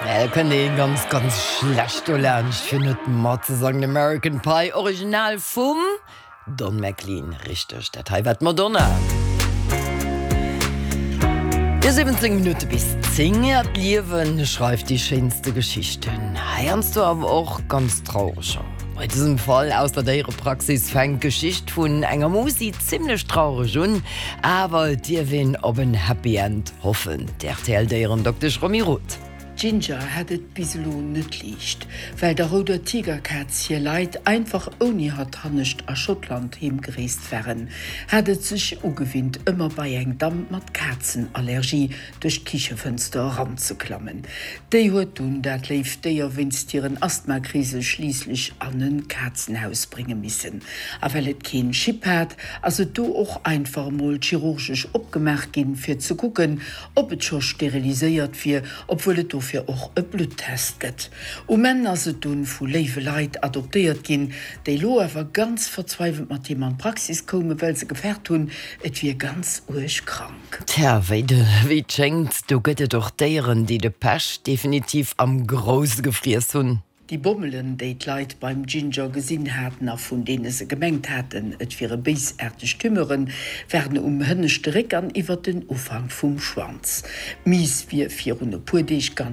Da kënnt ee ganz, ganz schlecht dolaanscht, fir net matzesangen. American Pie, Original vum Don McLean. Richteg, dat hei war d'Madonna. Jo, 17 Minutte bis 10. Ja, d'Liewe schreift déi schéinste Geschichten, heiansdo awer och ganz traureger. Bei dësem Fall aus der Déierepraxis fänkt d'Geschicht vun enger Musi zimmlech traureg un, awer et dierf een op en Happy End hoffen. D'RTL-Déierendoktesch Romy Roth. D'Ginger hat et bis elo net liicht. Well der rouder Tigerkaz hir Leit einfach ouni hatt hannescht a Schottland heemgereest waren, hat et sech ugewinnt, ëmmer bei eng Damm mat Kazenallergie duerch d'Kichefënster eranzeklammen. Déi huet dunn dat léift Déier wéinst hiren Asthmakrise schliisslech an e Kazenhaus brénge missen. A well et keen Chip hat, ass et do och einfach emol chirurgesch opgemaach ginn, fir ze kucken, ob et scho steriliséiert wier, obwuel et dofir och e Bluttest gëtt. Um Enn ass et dunn vu léiwe Leit adoptéiert ginn, déi lo awer ganz verzweiwelt mat him an d'Praxis koumen, well se gefaart hunn, et wier ganz uerg krank. Tja, wéi et schéngt, do gëtt et och Déieren, déi de Pech definitiv am Grousse gefriess hunn. Déi Bommelen, déi d'Leit beim Ginger gesinn haten a vun deene se gemengt haten, et wiere béisaarteg Tumeuren, waren um hënneschte Réck an iwwer den Ufank vum Schwanz. D'Miis wier virun e puer Deeg ganz.